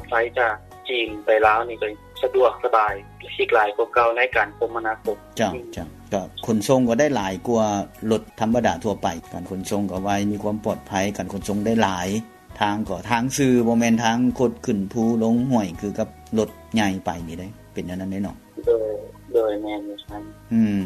ໄຟຈາກຈີນໄປລາວນີ້ກໍສະດວກສະບາຍ ຫຼາຍກວ່າເກົ່າໃນການຄົມມະນາຄົມ. ເຈົ້າ ເຈົ້າ ກໍຂົນສົ່ງກໍໄດ້ຫຼາຍກວ່າລົດທຳມະດາທົ່ວໄປ ການຂົນສົ່ງກໍໄວ ມີຄວາມປອດໄພ ການຂົນສົ່ງໄດ້ຫຼາຍ ທາງກໍທາງຊື່ ບໍ່ແມ່ນທາງຄົດຂຶ້ນພູລົງຫ້ວຍ ຄືກັບລົດໃຫຍ່ໄປນີ້ເດ້ ເປັນແນວນັ້ນເດ້ເນາະ. ໂດຍ ໂດຍ ແມ່ນຢູ່ຊັ້ນ. ອືມ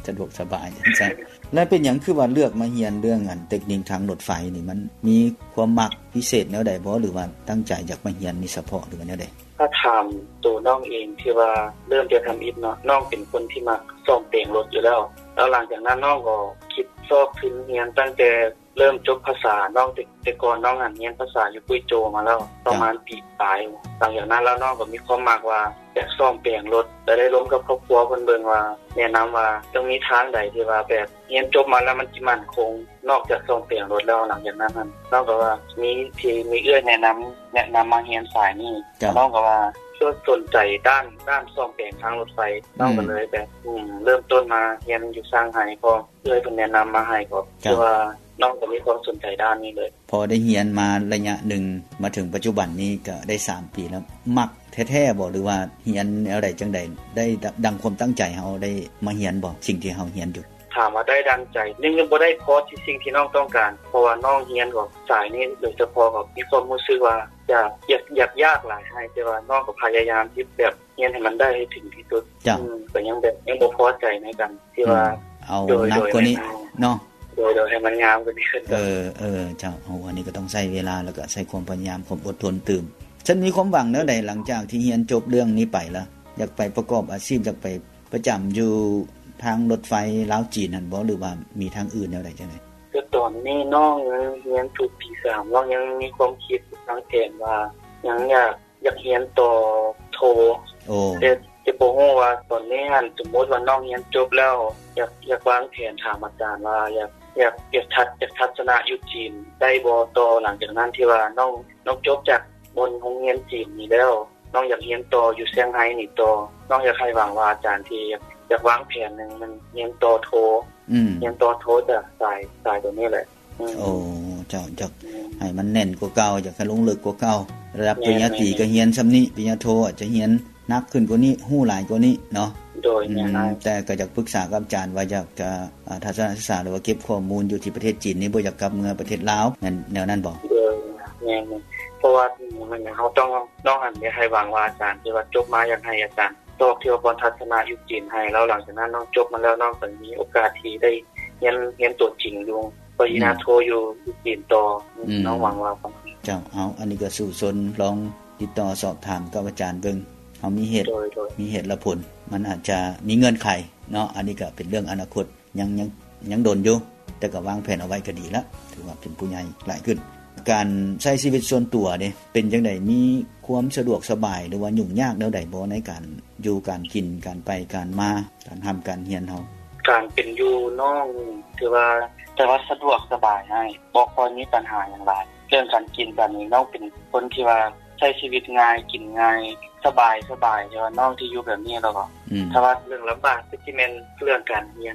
ສະດວກສະບາຍຈັ່ງຊັ້ນ. ແລະ ເປັນຫຍັງຄືວ່າເລືອກມາຮຽນເລື່ອງອັນເຕັກນິກທາງລົດໄຟນີ້ ມັນມີຄວາມມັກພິເສດແນວໃດບໍ່ ຫຼືວ່າຕັ້ງໃຈຢາກມາຮຽນນີ້ສະເພາະ ຫຼືວ່າແນວໃດ? ຖ້າຖາມໂຕນ້ອງເອງທີ່ວ່າເລີ່ມແຕ່ທຳອິດເນາະ ນ້ອງເປັນຄົນທີ່ມັກສ້ອມແປງລົດຢູ່ແລ້ວ ແລ້ວຫຼັງຈາກນັ້ນນ້ອງກໍຄິດຊອກທຶນຮຽນຕັ້ງແຕ່ ເລີ່ມຈົບພາສາ ນ້ອງ ແຕ່ ແຕ່ກ່ອນນ້ອງຫັ້ນຮຽນພາສາຢູ່ກຸຍໂຈມາແລ້ວ ປະມານປີປາຍ. ຫຼັງຈາກນັ້ນແລ້ວນ້ອງກໍມີຄວາມມັກວ່າຢາກສ້ອມແປງລົດ ແລະ ໄດ້ລົມກັບຄອບຄົວເພິ່ນເບິ່ງວ່າ ແນະນຳວ່າຕ້ອງມີທາງໃດທີ່ວ່າແບບຮຽນຈົບມາແລ້ວມັນຊິໝັ້ນຄົງ ນອກຈາກສ້ອມແປງລົດແລ້ວ. ຫຼັງຈາກນັ້ນຫັ້ນ ນ້ອງກໍວ່າມີ ທີ່ມີເອື້ອຍແນະນຳ ແນະນຳມາຮຽນສາຍນີ້. ນ້ອງກໍວ່າສົນໃຈດ້ານ ດ້ານສ້ອມແປງທາງລົດໄຟ. ນ້ອງກໍເລີຍແບບ ເລີ່ມຕົ້ນມາຮຽນຢູ່ຊ່າງໄຮ ເພາະ ເອື້ອຍເພິ່ນແນະນຳມາໃຫ້ ກໍ ເຈົ້າ ຄືວ່ານ້ອງກໍມີຄວາມສົນໃຈດ້ານນີ້ເລີຍ. ພໍໄດ້ຮຽນມາໄລຍະໜຶ່ງ ມາເຖິງປັດຈຸບັນນີ້ກໍໄດ້ສາມປີແລ້ວ ມັກແທ້ໆບໍ່ ຫຼືວ່າຮຽນແນວໃດຈັ່ງໃດ ໄດ້ ດ- ດັ່ງຄວາມຕັ້ງໃຈເຮົາໄດ້ມາຮຽນບໍ່ ສິ່ງທີ່ເຮົາຮຽນຢູ່? ຖາມວ່າໄດ້ດັ່ງໃຈ ຍັງ ຍັງບໍ່ໄດ້ພໍທີ່ສິ່ງທີ່ນ້ອງຕ້ອງການ ເພາະວ່ານ້ອງຮຽນກໍສາຍນີ້ໂດຍສະເພາະ ກໍມີຄວາມຮູ້ສຶກວ່າຢາກ ຢາກ ຢາກ ຢາກຫຼາຍໃຫ້ ແຕ່ວ່ານ້ອງກໍພະຍາຍາມທີ່ແບບ ຮຽນໃຫ້ມັນໄດ້ໃຫ້ເຖິງທີ່ສຸດ. ເຈົ້າ ອືມ ກໍຍັງແບບ ຍັງບໍ່ພໍໃຈໃນການທີ່ວ່າ ອືມ ເອົາ ໂດຍ ໜັກກວ່ານີ້ເນາະ. ໂດຍ ໂດຍ ໃຫ້ມັນງາມກວ່ານີ້ຂຶ້ນ. ເອີ ເອີ ເຈົ້າ ເອົາ ອັນນີ້ກໍຕ້ອງໃຊ້ເວລາ ແລ້ວກໍໃຊ້ຄວາມພະຍາຍາມ ຄວາມອົດທົນຕື່ມ. ຊັ້ນມີຄວາມຫວັງແນວໃດ ຫຼັງຈາກທີ່ຮຽນຈົບເລື່ອງນີ້ໄປລະ? ຢາກໄປປະກອບອາຊີບ ຢາກໄປປະຈຳຢູ່ທາງລົດໄຟລາວຈີນຫັ້ນບໍ່ ຫຼືວ່າມີທາງອື່ນແນວໃດຈັ່ງໃດ? ຄືຕອນນີ້ນ້ອງຍັງຮຽນຢູ່ປີສາມ ນ້ອງຍັງມີຄວາມຄິດວາງແຜນວ່າ ຍັງຢາກ ຢາກຮຽນຕໍ່ໂທ. ໂອ້ ແຕ່ ແຕ່ບໍ່ຮູ້ວ່າຕອນນີ້ຫັ້ນ ສົມມຸດວ່ານ້ອງຮຽນຈົບແລ້ວ ຢາກ ຢາກວາງແຜນ ຖາມອາຈານວ່າ ຢາກ ຢາກ ຢາກທັດ ຢາກທັດສະນະຢູ່ຈີນໄດ້ບໍ່ຕໍ່ ຫຼັງຈາກນັ້ນ ທີ່ວ່ານ້ອງ ນ້ອງຈົບຈາກບ່ອນໂຮງຮຽນຈີນນີ້ແລ້ວ ນ້ອງຢາກຮຽນຕໍ່ຢູ່ຊຽງໄຮນີ້ຕໍ່. ນ້ອງຢາກໃຫ້ຫວັງວ່າອາຈານທີ່ຢາກ ຢາກວາງແຜນໜຶ່ງ ມັນຮຽນຕໍ່ໂທ. ອືມ ຮຽນຕໍ່ໂທຈາກສາຍ ສາຍຕົວນີ້ແຫຼະ. ອືມ ໂອ້ ເຈົ້າ ຢາກໃຫ້ມັນແໜ້ນກວ່າເກົ່າ ຢາກໃຫ້ລົງເລິກກວ່າເກົ່າ ລະດັບປະລິນຍາຕີກໍຮຽນສ່ຳນີ້ ປະລິນຍາໂທອາດຈະຮຽນໜັກຂຶ້ນກວ່ານີ້ ຮູ້ຫຼາຍກວ່ານີ້ເນາະ. ໂດຍ ອືມ ແມ່ນ. ແຕ່ກໍຢາກປຶກສາກັບອາຈານວ່າຢາກຈະ ອາ ທັດສະນະສຶກສາ ຫຼືວ່າເກັບຂໍ້ມູນຢູ່ທີ່ປະເທດຈີນນີ້ ບໍ່ຢາກກັບເມືອປະເທດລາວ ແມ່ນແນວນັ້ນບໍ່? ໂດຍ ແມ່ນ ເພາະວ່າມັນ ເຮົາຕ້ອງ ນ້ອງຫັ້ນຢາກໃຫ້ຫວັງວ່າອາຈານທີ່ວ່າຈົບມາ ຢາກໃຫ້ອາຈານ ຕອກທີ່ວ່າບ່ອນທັດສະນະຢູ່ຈີນໃຫ້ ແລ້ວຫຼັງຈາກນັ້ນນ້ອງຈົບມາແລ້ວ ນ້ອງກໍມີໂອກາດທີ່ໄດ້ຮຽນ ຮຽນຕົວຈິງຢູ່ປະລິນຍາໂທຢູ່ ຢູ່ຈີນຕໍ່. ອືມ ນ້ອງຫວັງວ່າ. ເຈົ້າ ເອົາ ອັນນີ້ກໍສູ້ຊົນ ລອງຕິດຕໍ່ສອບຖາມກັບອາຈານເບິ່ງ. ເຮົາມີເຫດ ໂດຍ ໂດຍ ມີເຫດແລະຜົນ ມັນອາດຈະມີເງື່ອນໄຂເນາະ. ອັນນີ້ກໍເປັນເລື່ອງອະນາຄົດ ຍັງ ຍັງ ຍັງດົນຢູ່ ແຕ່ກໍວາງແຜນເອົາໄວ້ກໍດີລະ ຖືວ່າເປັນຜູ້ໃຫຍ່ຫຼາຍຂຶ້ນ. ການໃຊ້ຊີວິດສ່ວນຕົວເດ ເປັນຈັ່ງໃດ? ມີຄວາມສະດວກສະບາຍ ຫຼືວ່າຫຍຸ້ງຍາກແນວໃດບໍ່ ໃນການຢູ່ ການກິນ ການໄປການມາ ການຮ່ຳການຮຽນເຮົາ? ການເປັນຢູ່ນ້ອງຖືວ່າ ແຕ່ວ່າສະດວກສະບາຍອ້າຍ ບໍ່ຄ່ອຍມີບັນຫາຫຍັງຫຼາຍ. ເລື່ອງການກິນການນີ້ ນ້ອງເປັນຄົນທີ່ວ່າໃຊ້ຊີວິດງ່າຍ ກິນງ່າຍ ສະບາຍ ສະບາຍ ແຕ່ວ່ານ້ອງທີ່ຢູ່ແບບນີ້ແລ້ວກໍ ອືມ ຖ້າວ່າເລື່ອງລຳບາກກໍຊິແມ່ນເລື່ອງການຮຽນ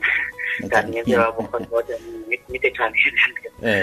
ການຮຽນທີ່ວ່າບໍ່ຄ່ອຍພໍໃຈ ມີ ມີແຕ່ການຮຽນຢ່າງດຽວ. ເອີ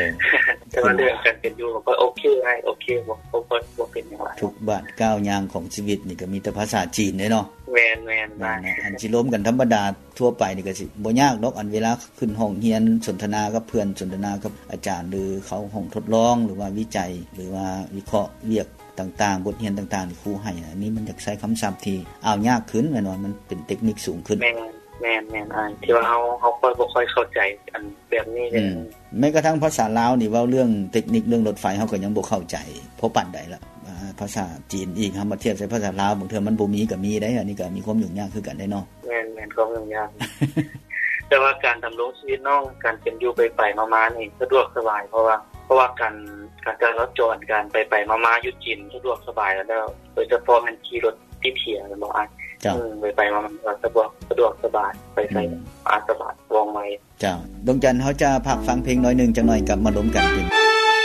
ແຕ່ວ່າເລື່ອງການເປັນຢູ່ກໍໂອເຄອ້າຍ ໂອເຄ ບໍ່ ບໍ່ ບໍ່ ບໍ່ເປັນຫຍັງຫຼາຍ. ທຸກບາດກ້າວຍ່າງຂອງຊີວິດນີ້ກໍມີແຕ່ພາສາຈີນເດ້ເນາະ. ແມ່ນໆ ແມ່ນນະ ອັນຊິລົມກັນທຳມະດາທົ່ວໄປນີ້ກໍຊິບໍ່ຍາກດອກ ອັນເວລາຂຶ້ນຫ້ອງຮຽນ ສົນທະນາກັບເພື່ອນ ສົນທະນາກັບອາຈານ ຫຼືເຂົ້າຫ້ອງທົດລອງ ຫຼືວ່າວິໄຈ ຫຼືວ່າວິເຄາະວຽກ ຕ່າງໆ ບົດຮຽນຕ່າງໆ ທີ່ຄູໃຫ້ ອັນນີ້ມັນຢາກໃຊ້ຄຳສັບທີ່ອ່າວຍາກຂຶ້ນ ແມ່ນວ່າມັນເປັນເຕັກນິກສູງຂຶ້ນ. ແມ່ນ ແມ່ນ ແມ່ນອ້າຍ ທີ່ວ່າເຮົາ ເຮົາຄ່ອຍບໍ່ຄ່ອຍເຂົ້າໃຈອັນແບບນີ້ເລີຍ. ອືມ ແມ້ກະທັ່ງພາສາລາວນີ້ ເວົ້າເລື່ອງເຕັກນິກເລື່ອງລົດໄຟ ເຮົາກໍຍັງບໍ່ເຂົ້າໃຈພໍປານໃດລະ ອ່າ ພາສາຈີນອີກ ເຮົາມາທຽບໃສ່ພາສາລາວ ບາງເທື່ອມັນບໍ່ມີກໍມີເດ້. ອັນນີ້ກໍມີຄວາມຫຍຸ້ງຍາກຄືກັນເດ້ເນາະ. ແມ່ນໆ ຄວາມຫຍຸ້ງຍາກ ແຕ່ວ່າການດຳລົງຊີວິດນ້ອງ ການເປັນຢູ່ໄປໆມາໆນີ້ສະດວກສະບາຍ ເພາະວ່າ ເພາະວ່າການ ການຈະລາຈອນ ການໄປໆມາໆຢູ່ຈີນສະດວກສະບາຍແລ້ວ ໂດຍສະເພາະແມ່ນຂີ່ລົດຕິດເຫຍແມ່ນບໍ່ອ້າຍ? ເຈົ້າ ອືມ ໄປໆມາໆສະດວກ ສະດວກສະບາຍ ໄປໃສ ອືມ ອາ ສະບາຍ ວ່ອງໄວ. ເຈົ້າ ດວງຈັນ ເຮົາຈະພັກຟັງເພງໜ້ອຍໜຶ່ງ ຈັກໜ້ອຍກັບມາລົມກັນເປັນ